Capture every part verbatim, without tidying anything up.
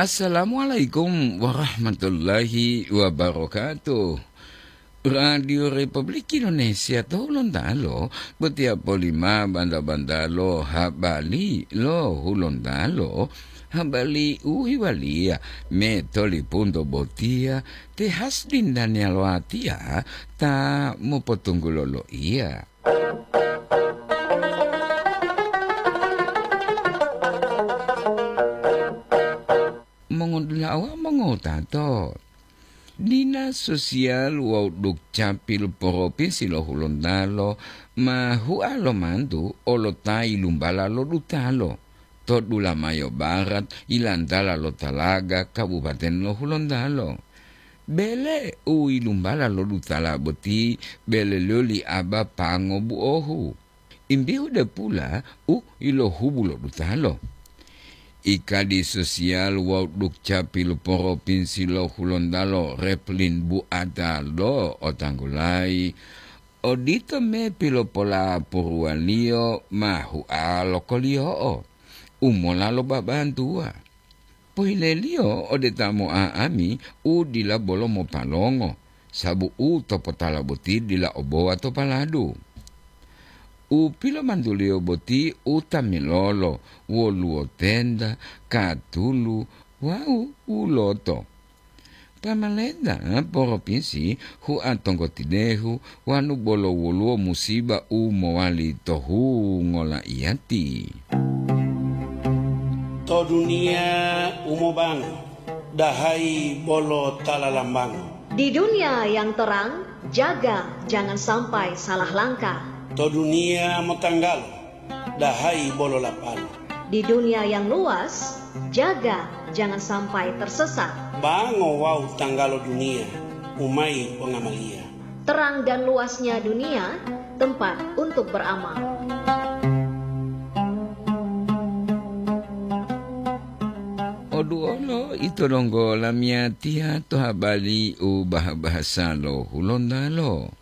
Assalamualaikum warahmatullahi wabarakatuh. Radio Republik Indonesia to Hulontalo, botiya polima banda-bandalo habari lo Hulontalo, habari u hewaliya me tolipunto botiya te Hasdin Daniel Watiya ta mopotunggulo loiya. Mongodula'a wawu mongotato, Dinas Sosial wawu Dukcapil Propinsi lo Hulontalo ma hua lo mantu olo ta yilumbala lo dutalo to Dulamayo Barat, yilantala lo Talaga, Kabupaten lo Hulontalo. Bele u yilumbala lo dutala boti bele loli aba pango buohu. Imbihu depula u yilohubu lo dutalo. Ikadi Sosial wawu Dukcapil Propinsi lo Hulontalo, Replin Buata lo otanggulayi, odito me pilopolapuruwaliyo ma hua lo koliyo'o u mola lo babantuwa. Pohileliyo ode ta mo'a'ami u dila bolo mopalongo, sabu u topotala boti dila obowa to paladu. U pilomantuliyo boti u tamilolo, woluwo tenda, katulu, wawu uloto. Pamalenta propinsi hua tonggotidehu wanu bolo woluwo musiba u mowali to hungo laiyati. To duniya u mobango, dahayi bolo ta lalambango. Di dunia yang terang, jaga jangan sampai salah langkah. To duniya motanggalo, dahayi bolo lapalo. Di dunia yang luas, jaga jangan sampai tersesat. Bango wawu tanggalo duniya, umayi pongamaliya. Terang dan luasnya dunia, tempat untuk beramal. Oduolo ito donggo lamiyatiya to habari u bah-bahasa lo Hulontalo.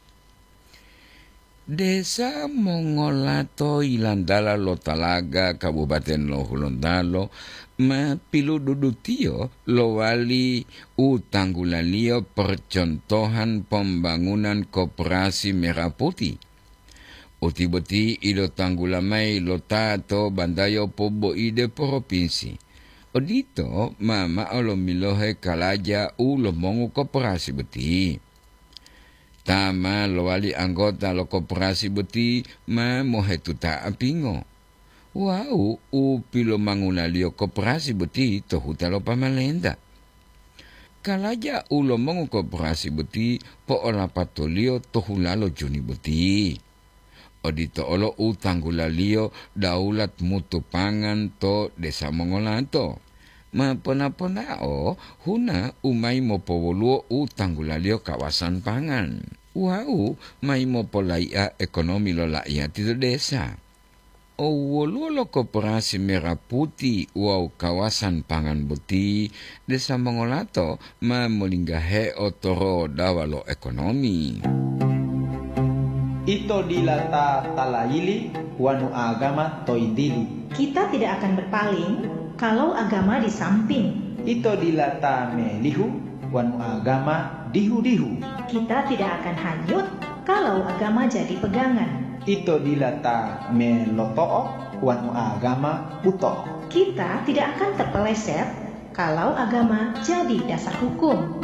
Desa Mongolato yilantala lo Talaga, Kabupaten lo Hulontalo, ma pilududutiyo lowali u tanggulaliyo percontohan pembangunan koperasi merah putih. Uti boti ilotanggula mayi lo ta to bantayo poboide propinsi. Odito ma mao lomilohe kalaja u lomongu koperasi boti. Ta ma lowali anggota lo koperasi boti ma mohetuta apingo. Wawu u pilomangulaliyo koperasi boti to huta lo pamalenta. Kalaja u lomongu koperasi boti po'olapatoliyo to hulalo Juni boti. Odito olo u tanggulaliyo daulat mutu pangan to Desa Mongolato. Ma pona-ponao huna u mayi mopowoluwo u tanggulaliyo kawasan pangan wawu mayi mopolai'a ekonomi lo la'iyati to desa. O woluwo lo koperasi merah putih wawu kawasan pangan boti, Desa Mongolato ma molinggahe otorodawa lo ekonomi. Ito dila ta talayili wanu agama to yintili. Kita tidak akan berpaling kalau agama di samping. Ito dila ta melihu wanu agama dihu-dihu. Kita tidak akan hanyut kalau agama jadi pegangan. Ito dila ta meloto'o wanu agama buto'o. Kita tidak akan terpeleset kalau agama jadi dasar hukum.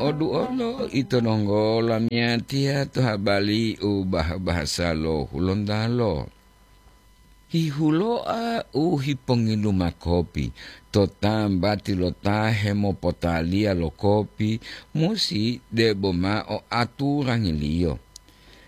Oduolo ito nonggola miyatiya to habari u bah-bahasa lo Hulontalo. Hihuloa u hipongilu makopi to tambati lo ta hemopotaliya lo kopi musi debo mao aturangiliyo.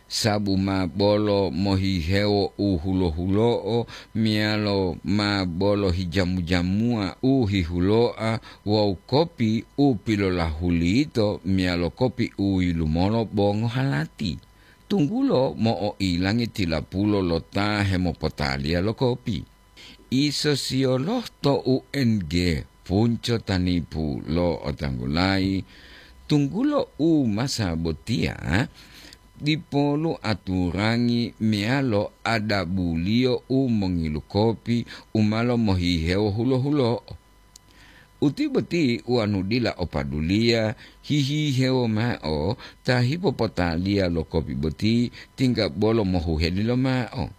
Sabu ma bolo mohihewo u hulo-hulo'o meyalo ma bolo hijamu-jamuwa u hihuloa wawu kopi u pilolahulito meyalo kopi u yilumolo bo ngohalati. Tunggulo mo'oilangi tilapulo lo ta hemopotaliya lo kopi. Isosiyoloh to U N G Punco Tanipu lo otanggulayi, tunggulo u masa botiya, dipolu aturangi meyalo adabuliyo u mongilukopi u ma lomohihewo hulo-hulo'o. Uti boti wanu dila opaduliya hihihewo mao ta hipopotaliya lo kopi boti, tingga bolo mohuheli lomao.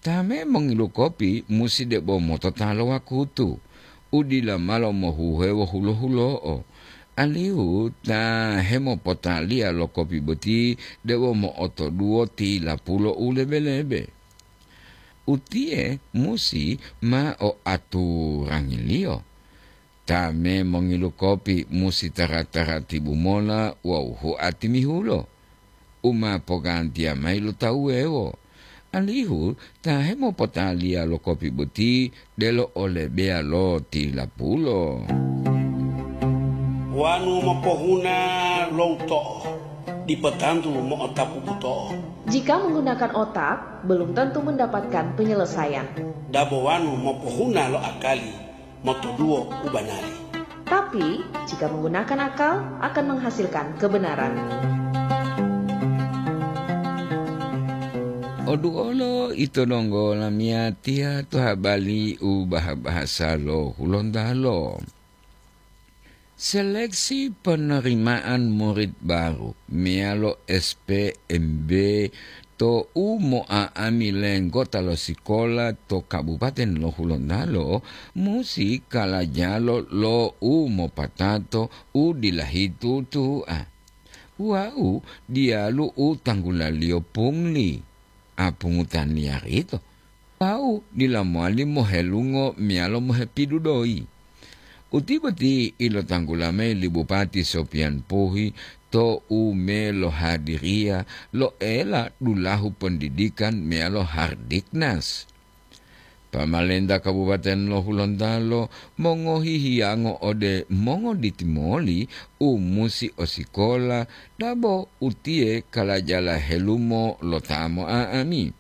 Ta me mongilu kopi musi debo motota lo wakutu, u dila malo mohuhewo hulo-hulo'o, alihu ta hemopotaliya lo kopi boti debo mo'otoduwo tilapulo u lebe-lebe. Utiye musi ma o aturangiliyo. Ta me mongilu kopi musi tara-taratibu mola wawu hua timihulo, u ma pogantiya mayi lo tawu wuwewo, alihu ta hemopotaliya lo kopi boti delo o lebeya lo tilapulo. Wanu mopohuna lo uto'o, dipo tantu mo'otapu buto'o. Jika menggunakan otak, belum tentu mendapatkan penyelesaian. Dabo wanu mopohuna lo akali, motoduwo u banari. Tapi, jika menggunakan akal, akan menghasilkan kebenaran. Oduolo ito donggo lamiyatiya to habali u baha-bahasa lo Hulontalo. Seleksi penerimaan murid baru meyalo S P M B to u mo'a'ami lenggota lo sikola to Kabupaten lo Hulontalo musi kalajalo lo u mopatato u dila hitutu'a. Wau diyalu u tanggulaliyo pungli, a, pungutan liyarito. Wau dila mowali mohelungo meyalo mohepidudoyi. Uti boti ilotanggula mayi li Bupati Sopian Puhi to u melohadiriya lo ela dulahu pendidikan meyalo Hardiknas. Pamalenta Kabupaten lo Hulontalo mongohi hiyango ode mongoditi moli u musi osikola dabo utiye kalajala helumo lo ta mo'a'ami.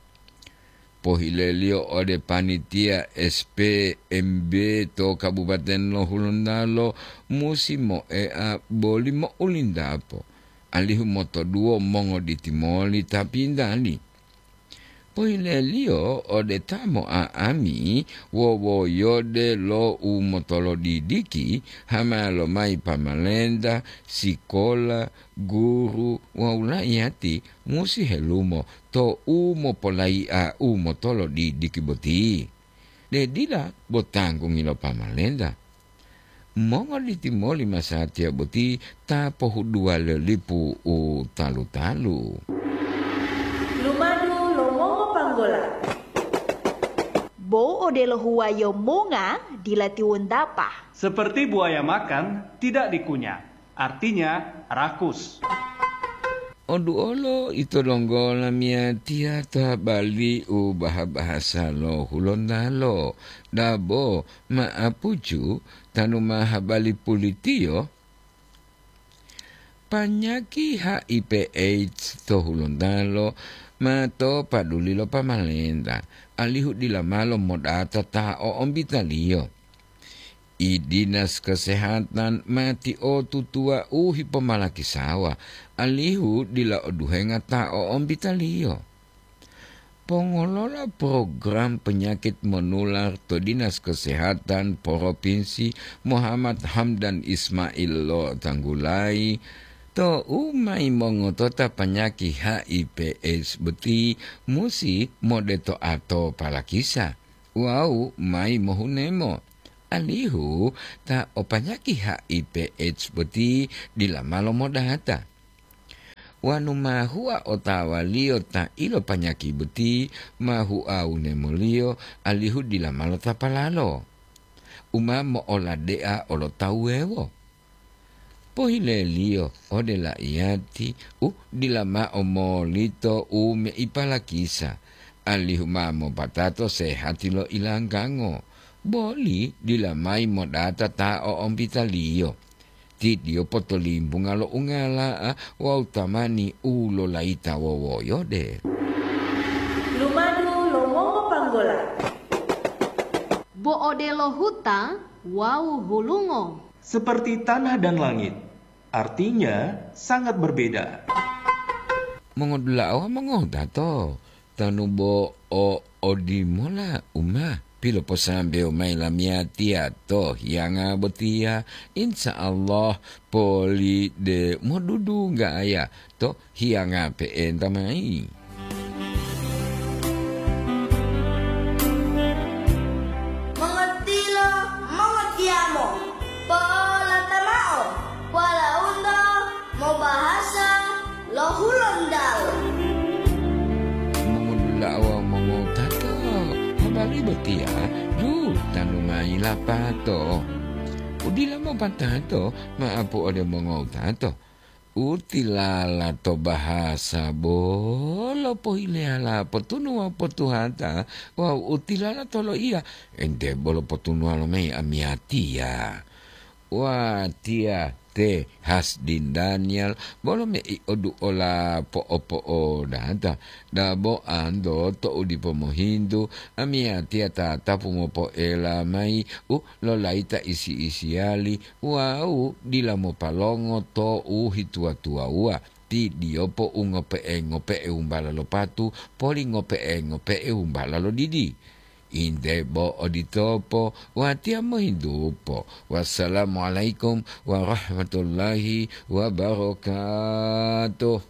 Pohileliyo ode panitiya S P M B to Kabupaten lo Hulontalo musi moea boli mo'ulindapo, alihu motoduwo mongoditi moli ta pindali. Pohileliyo ode ta mo'a'ami wowoyode lo u motolodidiki, hama lomayi pamalenta, sikola, guru wawu laiyati musi helumo to u mopolayi'a u motolodidiki boti. De dila bo tanggungi lo pamalenta. Mongoditi moli masatiya boti ta pohuduwa lo lipu u talu-talu. Lumadu lo mongopanggola. Bo odelo huwayo monga dila tiwontapa. Seperti buaya makan, tidak dikunyah. Artinya, rakus. Oduolo ito donggo lamiyatiya to habali u baha-bahasa lo Hulontalo, dabo ma'apucu tanu ma habali pulitiyo. Panyaki H I V AIDS to Hulontalo ma to paduli lo pamalenta, alihu dila malo modata ta o'ombitaliyo. I Dinas Kesehatan ma tiotutuwa u hipomalakisawa, alihu dila oduhenga ta o'ombitaliyo. Pongolola program penyakit monular to Dinas Kesehatan Provinsi Muhammad Hamdan Ismail lotanggulayi to u mayi mongotota panyaki H I V AIDS boti musi modetoato palakisa wawu mayi mohunemo, alihu ta o panyaki H I V AIDS boti dila malo modata. Wanu ma hua otawaliyo ta ilopanyaki boti ma hua wunemoliyo, alihu dila malo tapalalo u ma mo'oladea olo tawu wuwewo. Pohileliyo ode laiyati u dila mao molito u meipalakisa, alihu ma mopatato sehati lo ilanggango, boli dila mayi modata ta o'ombitaliyo. Ti tiyo potolimbunga lo ungala'a wawu tamani u lolayita wowoyode. Lumadu lo mongopanggola. Bo odelo huta wawu hulungo. Seperti tanah dan langit, artinya sangat berbeda. mongodula'a wawu mongotato, tanu bo o odimola u ma piloposambewo mayi lamiyatiya to hiyanga botiya, insya Allah poli de modudunggaya to hiyanga pe'enta mayi. Mongotilo, mongotiyamo, po'olata mao, walaundo mobahasa lo Hulontalo. Mongolula'a wawu mongotato, habari botiya dutanu mayi lapato. Udila mopatato, ma'apu ode mongotato. Utilala to bahasa bolo pohileyala potunu wawu potuhata, wawu utilala to loiya, ente bolo potunuwa lomayi amiyatiya. Watiya te Hasdin Daniel, bolo mei oduola po'opo'odata, dabo anto to'u dipo mohintu, amiyatiya tatapu mopoela mayi u lolayita isi-isiyali wawu dila mopalongo to u hituwa-tuwawuwa, ti diyopo u ngope'e-ngope'e wumbala lo patu, poli ngope'e-ngope'e wumbala lo didi. Inde bo oditopo, watiya mohintupo. Wassalamualaikum warahmatullahi wabarakatuh.